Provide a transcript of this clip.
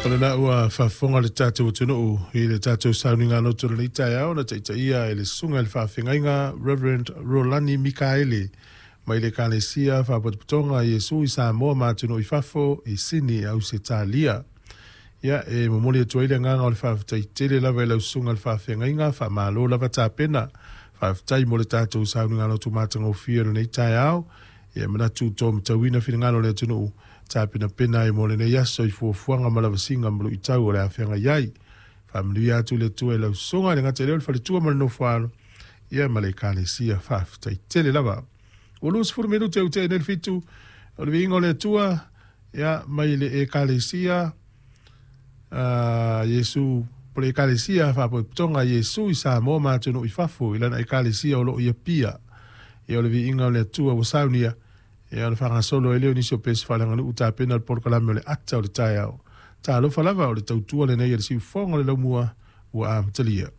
O lena ua faafofoga le tatou atunuu i le tatou sauniga loto i lenei taeao na taitaia e le Susuga i le Faafeagaiga Reverend Rolani Mikaele mai le Ekalesia Faapotopotoga a Iesu i Samoa ma atunuu i fafo i Sini, Ausetalia. Ia, e momoli atu ai le agaga o le faafetai tele lava i lau Susuga i le Faafeagaiga, faamalo lava tapena. Faafetai mo le tatou sauniga loto matagofie o lenei taeao. Ia, e manatu ua matauina finagalo o le atunuu tapenapena ai mo lenei aso i fuafuaga ma lavasiga ma luitau o le a feagai ai. Faamanuia atu le Atua i lau susuga, e le gata i lea o le faletua ma le nofoalo, ia ma le Ekalesia. Faafetai tele lava. Ua 20 minute ua tea nei le 7, o le viiga o le Atua, ia, mai le Ekalesia Iesu, po le Ekalesia Faapotopotoga a Iesu i Samoa ma atunuu i fafo i lana Ekalesia o lo o i Apia. Ia, o le viiga o le Atua ua saunia, ia ona faagasolo ai lea o nisi o pese faaleaganuu tapena le polokalame o le ata o le taeao. Talofa lava, o le tautua lenei a le siufofoga o le laumua ua amatalia.